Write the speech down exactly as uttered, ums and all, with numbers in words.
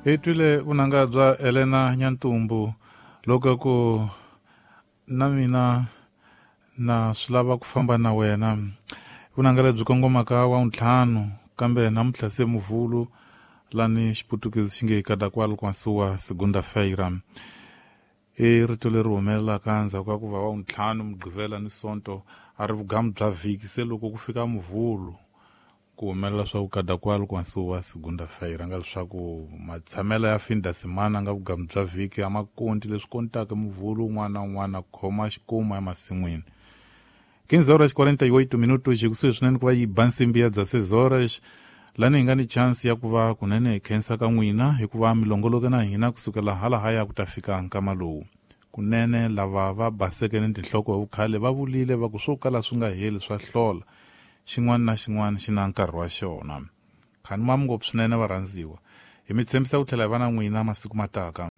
Hi twile vunanga bya Elena Nyantumbu loko ku na mina na swi lava ku famba na wena. Vunanga lebyi kongomaka wa ntlhanu kambe namuntlha se muvhulu lani xiputukezi xi nge cada qual com a sua segunda-feira. I rito leri humelelaka endzhaku ka ku va wa ntlhanu mugqivela ni sonto a ri vugamu bya vhiki se loko ku fika muvhulu ku humelela swa ku cada qual com a sua segunda-feira nga leswaku matshamelo ya fin da semana nga vugamu bya vhiki a ma konti leswi kontaka muvhulu un'wana na un'wana khoma xikomu emasin'wini. quinze horas quarenta e oito minutos kusuhi swinene ku va yi ba nsimbi ya dezesseis horas lani hi nga ni chance ya ku va kunene hi khensa ka n'wina hikuva mi longoloke na hina kusukela halahaya ku ta fika nkama lowu. Kunene lava va baseke ni tinhloko hi vukhale va vulile va ku swo kala swi nga heli swa hlola, xin'wana na xin'wana xi na nkarhi wa xona. Khani mami ngopfu swinene varhandziwa, hi mi tshembisa ku tlhela hi va na n'wina masiku mataka.